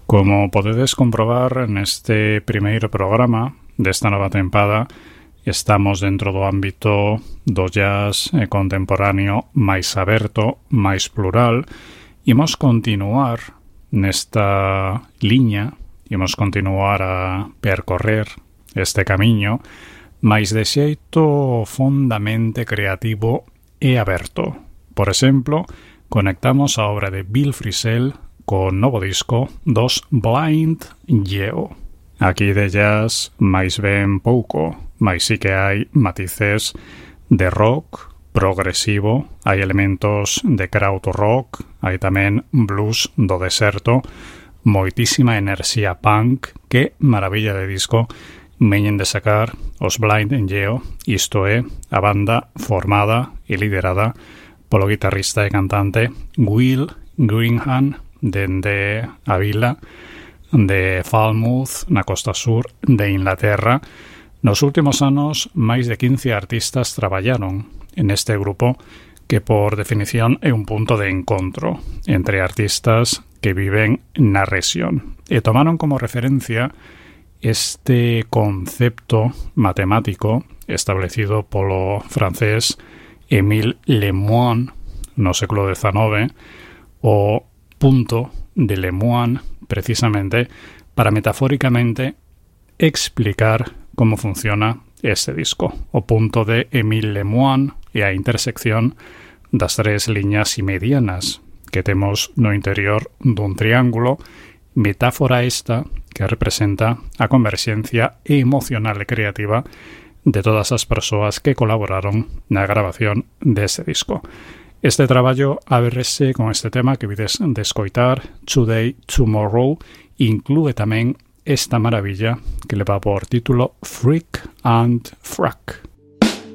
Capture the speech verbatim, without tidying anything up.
Como podedes comprobar neste primeiro programa desta nova tempada, estamos dentro do ámbito do jazz contemporáneo máis aberto, máis plural. Imos continuar nesta liña, imos continuar a percorrer este camiño, máis de xeito fondamente creativo e aberto. Por exemplo, conectamos a obra de Bill Frisell con novo disco dos Blind Yeo. Aquí de jazz máis ben pouco, máis sí que hai matices de rock progresivo, hai elementos de krautrock, hai tamén blues do deserto, moitísima enerxía punk, que maravilla de disco veñen de sacar os Blind Yeo, isto é, a banda formada e liderada polo guitarrista e cantante Will Greenham dende a vila de Falmouth, na costa sur de Inglaterra. Nos últimos anos, máis de quince artistas traballaron en este grupo que, por definición, é un punto de encontro entre artistas que viven na rexión. E tomaron como referencia este concepto matemático establecido polo francés Émile Lemoine no século dezenove, o punto de Lemoine, precisamente para metafóricamente explicar como funciona este disco. O punto de Émile Lemoine é a intersección das tres liñas medianas que temos no interior dun triángulo, metáfora esta que representa a converxencia emocional e creativa de todas as persoas que colaboraron na grabación deste disco. Este traballo ábrese con este tema que vides de escoitar, Today, Tomorrow, inclúe tamén esta maravilla que leva por título Freak and Frack.